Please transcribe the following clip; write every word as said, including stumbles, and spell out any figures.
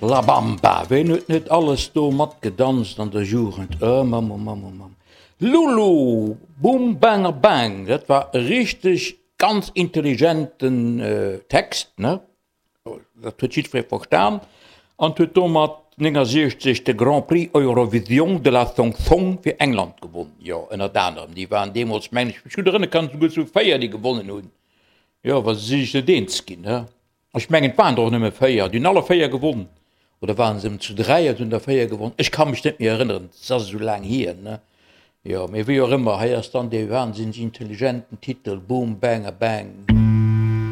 La Bamba, ween huet net alles do matgedanzt an der Jugend? Oh Mamm, oh Mamm, oh Mamm. Lulu, Boom Banger Bang, dat war e richteg ganz intelligenten Text, ne? Dat huet jiddweree verstan an huet domat néngasiechzeg de Grand Prix Eurovision de la Chanson fir England gewonn. Jo, ënnert anerem, déi waren deemools, mengen ech, mech gutt erënnere kann, souguer zu véier, déi gewonnen hunn. Jo, wa se sech net eens ginn, ne? Ech mengen, et waren der och nëmme véier, déi hunn alle véier gewonn. Oder waren se zu dräi an hunn der véier gewonn? Ech ka mech net méi erënneren, et ass esou laang hier, ne? Jo, mee wéi och ëmmer, hei ass dann dee wahnsinneg intelligenten Titel Boom Banger Bang.